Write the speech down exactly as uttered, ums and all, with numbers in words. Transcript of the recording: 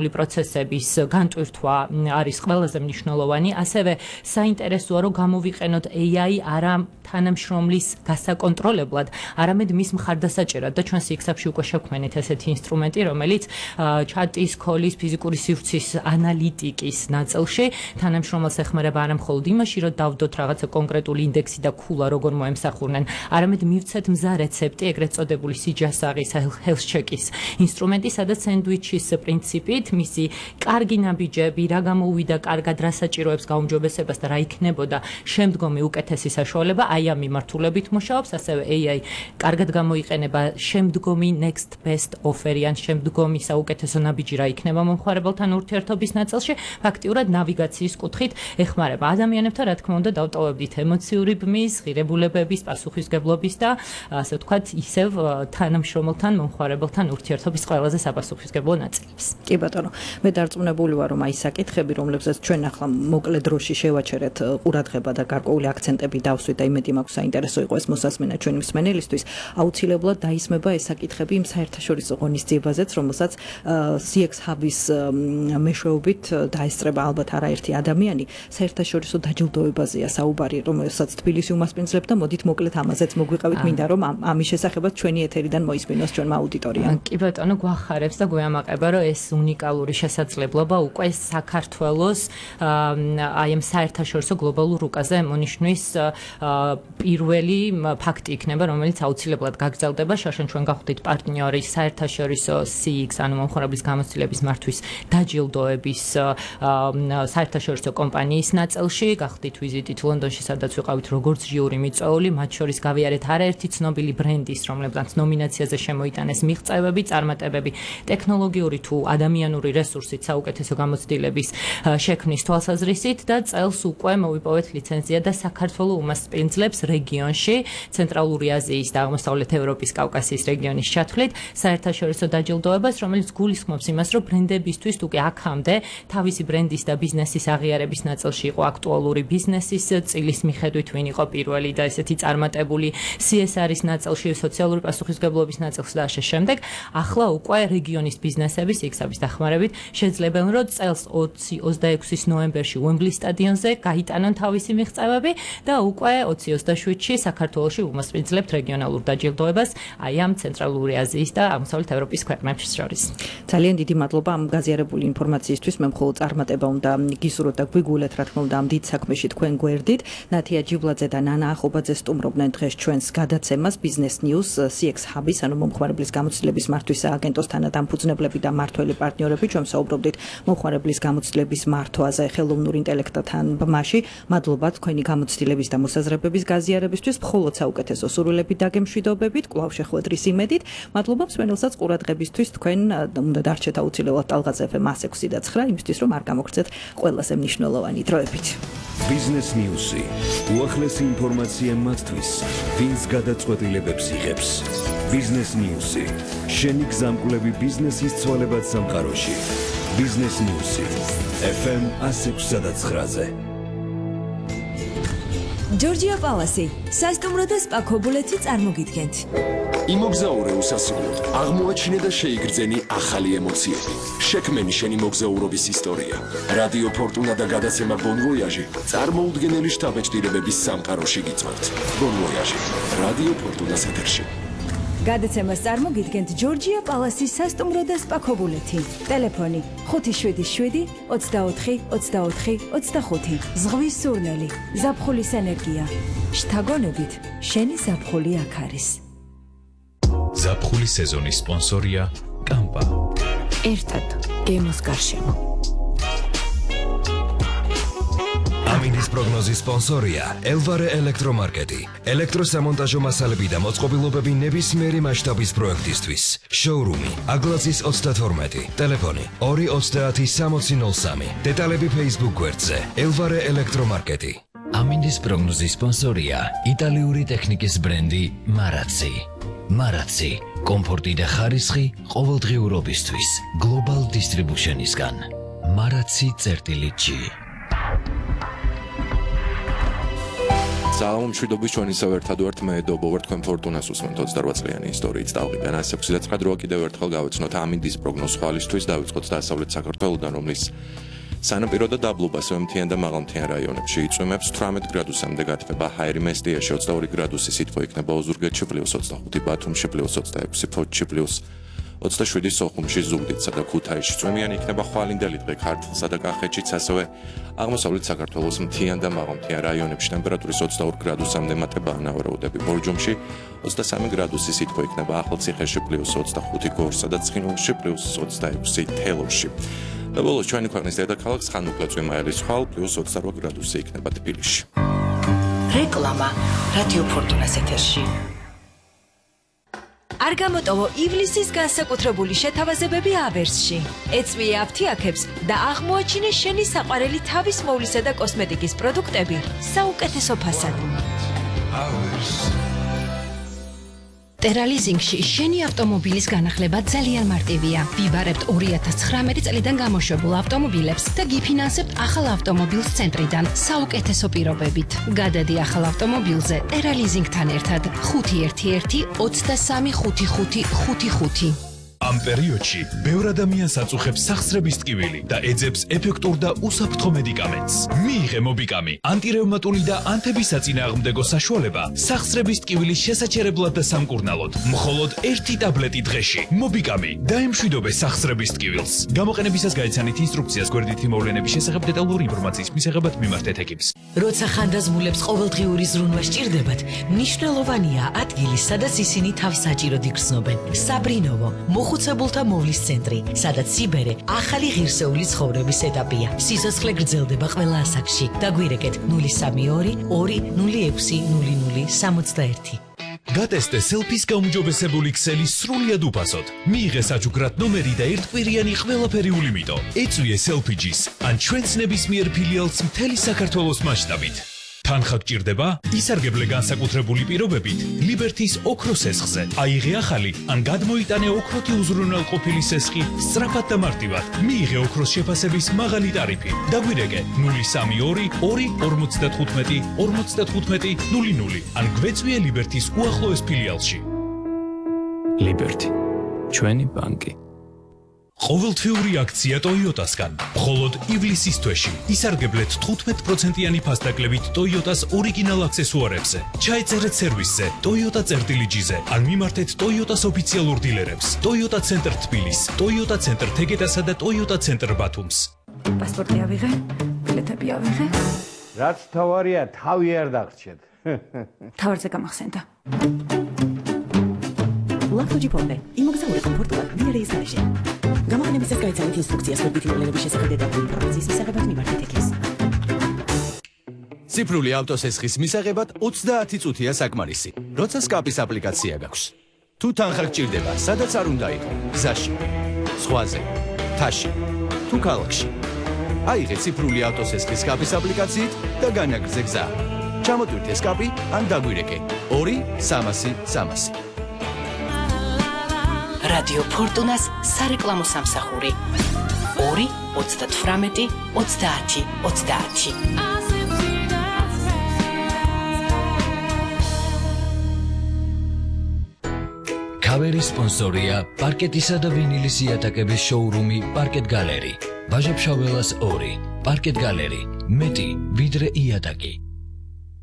პროცესების განტვირთვა არის ყველაზე მნიშვნელოვანი, ასევე საინტერესოა რომ გამოვიყენოთ A I არა თანამშრომლის გასაკონტროლებლად, არამედ მის მხარდასაჭერად და ჩვენ სიქსაფში უკვე შევქმნით ესეთი ინსტრუმენტი, რომელიც ჩატის, ქოლის, ფიზიკური სივრცის ანალიტიკის ნაწილში თანამშრომელს ეხმარება არა მხოლოდ იმაში, რომ დავდოთ რაღაცა კონკრეტული ინდექსი და ქულა როგორ მოემსახურნენ, არამედ მივცეთ მზა რეცეპტი, ეგრეთ წოდებული სიჯასაღის health check-ის ინსტრუმენტი, სადაც სენდვიჩის პრინციპით მისი კარგი ნაბიჯები, რა გამოუვიდა კარგად, რა საჭიროებს გაუმჯობესებას და რა იქნებოდა შემდგომი უკეთესი საშუალება, აი ამ მიმართულებით მუშაობს, ასევე A I კარგად გამოიყენება შემდგომი next best offer-ი ან შემდგომი საუკეთესო ნაბიჯი რა იქნება მომხმარებელთან ურთიერთობის ნაწილში, ფაქტიურად ნავიგაციის კუთხით ეხმარება ადამიანებთან, რა თქმა უნდა, დავტოვებდით ემოციური ბმის, ღირებულებების, პასუხისმგებლობის და ასე ვთქვათ, ისევ თანამშრომელთან, მომხმარებელთან ურთიერთობის ყველაზე საპასუხისმგებლო ნაწილებს. კი ბატონო, მე დარწმუნებული ვარ, რომ აი საკითხები, რომლებსაც ჩვენ ახლა მოკლე დროში შევაჩერეთ ყურადღება და გარკვეული აქცენტები დავსვით და იმედი მაქვს საინტერესო იყო ეს მოსასმენა ჩვენი მსმენელისთვის, აუცილებლად დაისმება ეს საკითხები იმ საერთაშორისო ღონისძიებაზეც, რომელსაც C X Hub-ის მეშვეობით დაესწრება ალბათ არაერთი ადამიანი, საერთაშორისო დაჯილდოებაზეა საუბარი, რომელსაც თბილისი უმასპინძლებს და მოდით მოკლედ ამაზეც მოგვიყევით, მინდა რომ ამის შესახებაც ჩვენი ეთერიდან მოისმინოს ჩვენმა აუდიტორიამ. კი ბატონო, გვახარებს და გვეამაყება, რომ ეს უნიკალური შესაძლებლობა უკვე საქართველოს აი ამ საერთაშორისო გლობალურ რუკაზე მონიშნვის პირველი ფაქტი იქნება, რომელიც აუცილებლად გაგრძელდება. შაშან ჩვენ გავხდით პარტნიორი საერთაშორისო C X, ანუ მომხმარებლის გამოცდილების მართვის დაჯილდოების საერთაშორისო კომპანიის ნაწილში, გავხდით ვიზიტით ლონდონში, სადაც ვიყავით როგორც ჟიური მიწვეული, მათ შორის გავიარეთ არაერთი ცნობილი ბრენდის, რომლებსაც ნომინაციაზე შემოიტანეს მიღწევები, წარმატებები, ტექნოლოგიური თუ ადამიანური რესურსით საუკეთესო გამოცდილების შექმნის თვალსაზრისით და წელს უკვე მოვიპოვეთ ლიცენზია და საქართველოს უმასპინძლებს რეგიონში, ცენტრალური აზიის და აღმოსავლეთ ევროპის კავკასიის რეგიონის ჩათვლით საერთაშორისო დაჯილდოებას, რომელიც გულისხმობს იმას, რომ ბრენდებისთვის თუ კი აქამდე თავისი ბრენდის და ბიზნესის აღიარების ნაწილში იყო აქტუალური ბიზნესის წილის მიხედვით ვინ იყო პირველი და ესეთი წარმატებული C S R-ის ნაწილში, სოციალური პასუხისმგებლობის ნაწილში და ასე შემდეგ, ახლა უკვე რეგიონის ბიზნესები C X Hub-ის დახმარებით შეძლებენ, რომ წელს ოცი ოცდაექვსის ნოემბერში უემბლის სტადიონზე გაიტანონ თავისი მიღწევები და უკვე ოცი ოცდაშვიდში საქართველოში უმასპინძლებთ რეგიონალურ დაჯილდოებას აი ამ ცენტრალური აზიის და აღმოსავლეთ ევროპის ქვეყნებს შორის. ძალიან დიდი მადლობა ამ გაზიარებული ინფორმაციისთვის. მე მხოლოდ წარმატება უნდა გისურვოთ და გვიგულეთ, რა თქმა უნდა, ამ დიდ საქმეში თქვენ გვერდით. ნათია ჯიბლაძე და ნანა ახობაძე სტუმრობდნენ დღეს ჩვენს გადაცემას Business News C X Hub-ის, ანუ მომხმარებლის გამოცდილების მართვის სააგენტოს თანადამფუძნებლები და მართველი პარტნიორები. ჩვენ საუბრობდით მომხმარებლის გამოცდილების მართვაზე ხელოვნურ ინტელექტთან ბმაში. მადლობა თქვენი გამოცდილების და მოსაზრებების გაზიარებისთვის, მხოლოდ საუკეთესო სურვილებით და გემშვიდობებით, კვლავ შეხვედრის იმედით. მადლობა მსმენელსაც ყურადღებისთვის, თქვენ უნდა დარჩეთ აუცილებლად ტალღაზე F M one oh six და nine იმისთვის, რომ არ გამოგცეთ ყველაზე მნიშვნელოვანი დროებით. Business News-ი უახლესი ინფორმაცია მათთვის, ვინც გადაწყვეტილებებს იღებს. Business News-ი შენი გზამკვლევი ბიზნესის ცვალებად სამყაროში. Business News-ი F M one oh six და nine-ზე. Georgia Palace, სასტუმრო და სპა ქობულეთი წარმოგიდგენთ. იმოგზაურე უსასრულოდ, აღმოაჩინე და შეიგრძენი ახალი ემოციები. შექმენი შენი მოგზაურობის ისტორია. რადიო ფორტუნა და გადაცემა Bon Voyage წარმოუდგენელი შთაბეჭდილებების სამყაროში გიწევთ. Bon Voyage, რადიო ფორტუნას ეთერში. გადაცემას წარმოგიდგენთ Georgia Palace-ის სასტუმრო და სპა ქობულეთი. ტელეფონი ხუთი შვიდი შვიდი ოცდაოთხი ოცდაოთხი ოცდახუთი. ზღვის სურნელი, ზაფხულის ენერგია. შთაგონებით, შენი ზაფხული აქ არის. ზაფხულის სეზონის სპონსორია კამპა. ერთად გემოს გარშემო. ამინდის პროგნოზის სპონსორია ელვარე ელექტრომარკეტი. ელექტროსამონტაჟო მასალები და მოწყობილობები ნებისმიერი მასშტაბის პროექტისთვის. შოურუმი აგლაცის ოცდათორმეტი. ტელეფონი ორი ოცდაათი სამოცი ნოლ სამი. დეტალები Facebook გვერდზე ელვარე ელექტრომარკეტი. ამინდის პროგნოზის სპონსორია იტალიური ტექნიკის ბრენდი მარაცი. მარაცი, კომფორტი და ხარისხი ყოველდღიურობისთვის. Global Distribution-ისგან. მარაცი წერტილი G. საღამო მშვიდობის ჩვენ ისევ ერთად ვართ მე დობო ვარ თქვენ ფორტუნას უსმენთ ოცდაოთხ წლიანი ისტორიით დავყიდან ასი ექვსი და ცხრა დროა კიდევ ერთხელ გავეცნოთ ამინდის პროგნოზ ხვალისთვის დავიწყოთ დასავლეთ საქართველოსთან რომლის სანაპირო და დაბლობასო მთიან და მაღალმთიან რაიონებში იწვიმებს თვრამეტ გრადუსამდე გათბება ჰაერი მესტიაში ოცდაორი გრადუსი სითბო იქნება ოზურგეთში პლუს ოცდახუთი ბათუმში პლუს ოცდაექვსი ფოთში პლუს ოცდაშვიდი სოხუმში ზუგდიდსა და ქუთაისში წვიმიანი იქნება ხვალინდელი დღე ქართლსა და კახეთშიც ასევე აღმოსავლეთ საქართველოს მთიან და მაღალმთიან რაიონებში ტემპერატურის ოცდაორი გრადუსამდე მატება ანავარაუდები ბორჯომში ოცდასამი გრადუსი სითბო იქნება ახალციხეში პლუს ოცდახუთი გორსა და ცხინვალში პლუს ოცდაექვსი თელავში და ბოლოს ჩვენი ქვეყნის დედაქალაქ ხანუკლა წვიმაელის ხვალ პლუს ოცდარვა გრადუსი იქნება თბილისში. რეკლამა რადიო ფორტუნას ეთერში. არ გამოტოვო ივლისის განსაკუთრებული შეთავაზებები ავერსში. ეწვიე აფთიაქებს და აღმოაჩინე შენი საყვარელი თავის მოვლისა და კოსმეტიკის პროდუქტები საუკეთესო ფასად. ტერალიზინგში შენი ავტომობილის განახლება ძალიან მარტივია. ვიბარებთ ორი ათას ცხრამეტი წლიდან გამოშვებულ ავტომობილებს და გიფინანსებთ ახალ ავტომობილს ცენტრიდან საუკეთესო პირობებით. გადადი ახალ ავტომობილზე ტერალიზინგთან ერთად ხუთი ერთი ერთი ოცდასამი ხუთი ხუთი ხუთი ხუთი. ამ პერიოდში ბევრ ადამიანს აწუხებს სახსრების ტკივილი და ეძებს ეფექტურ და უსაფრთხო მედიკამენტს. მიიღე მობიკამი, ანტირევმატული და ანთებისაწინააღმდეგო საშუალება სახსრების ტკივილის შესაჩერებლად და სამკურნალოდ. მხოლოდ ერთი ტაბლეტი დღეში. მობიკამი დაემშვიდობე სახსრების ტკივილს. გამოყენებისას გაიცანით ინსტრუქციას გვერდითი მოვლენების შესახებ დეტალური ინფორმაციის მისაღებად მიმართეთ ეკიპს. როცა ხანდაზმულებს ყოველდღიური ზრუნვა სჭირდებათ, მნიშვნელოვანია ადგილი, სადაც ისინი თავს საჭიროდ იგრძნობენ. საბრინოვო მოხუცებულთა მოვლის ცენტრი, სადაც სიბერე ახალი ღირსეული ცხოვრების ეტაპია. სიცოცხლე გრძელდება ყველა ასაკში. დაგვირეკეთ ნული სამი ორი ორი ნული ექვსი ნული ნული სამოცდაერთი. გატესტე სელფის გაუმჯობესებული ქსელი სრულიად უფასოდ. მიიღე საჩუქრად ნომერი და ერთკვირიანი ყველაფერი ულიმიტო. ეწვიე სელფიჯის ან ჩვენს ნებისმიერ ფილიალს მთელი საქართველოს მასშტაბით. თანხა გჭირდება? ისარგებლე განსაკუთრებული პირობებით ლიბერთის ოქროს სესხზე. აიღე ახალი ან გადმოიტანე ოქროთი უზრუნველყოფილი სესხი სწრაფად და მარტივად. მიიღე ოქროს შეფასების მაღალი ტარიფი. დაგვირეკე ნული სამი ორი ორი ორმოცდათხუთმეტი ორმოცდათხუთმეტი ნული ნული ან გვეწვიე ლიბერთის უახლოეს ფილიალში. ლიბერთი, ჩვენი ბანკი. ყოველთვიური აქცია ტოიოტასგან. მხოლოდ ივლისის თვეში ისარგებლეთ თხუთმეტ პროცენტიანი ფასდაკლებით ტოიოტას ორიგინალ აქსესუარებზე. ჩაეწერეთ სერვისზე ტოიოტა წერტილიჯიზე ან მიმართეთ ტოიოტას ოფიციალურ დილერებს. ტოიოტა ცენტრ თბილის, ტოიოტა ცენტრ თეგეტასა და ტოიოტა ცენტრ ბათუმს. პასპორტი ავიღე, ბილეთები ავიღე. რაც თავარია, თავი არ დაგრჩეთ. თავარზე გამახსენდა. ლაქტოჯიპონე, იმოგზაურე კომფორტულად დიარეის გარეშე. გამოყენებისას გაიცანით ინსტრუქციას გვერდითი მოვლენების შესახებ დეტალური ინფორმაციის მისაღებად მიმართეთ ეკიპს. ციფრული ავტოსესხის მისაღებად ოცდაათი წუთია საკმარისი. როცა სკაპის აპლიკაცია გაქვს. თუ თანხა გჭირდება, სადაც არ უნდა იყო, გზაში, ზღვაზე, მთაში, თუ ქალაქში. აიღე ციფრული ავტოსესხის სკაპის აპლიკაციით და განაგრძე გზა. ჩამოტვირთე სკაპი ან დაგვირეკე ორი სამასი სამასი. რადიო ფორტუნას სარეკლამო სამსახური ორი ოცდათვრამეტი ოცდაათი ოცდაათი. კავერის სპონსორია პარკეტისა და ვინილის იატაკების შოურუმი პარკეტ გალერი. ვაჟა-ფშაველას ორი. პარკეტ გალერი. მეტი ვიდრე იატაკი.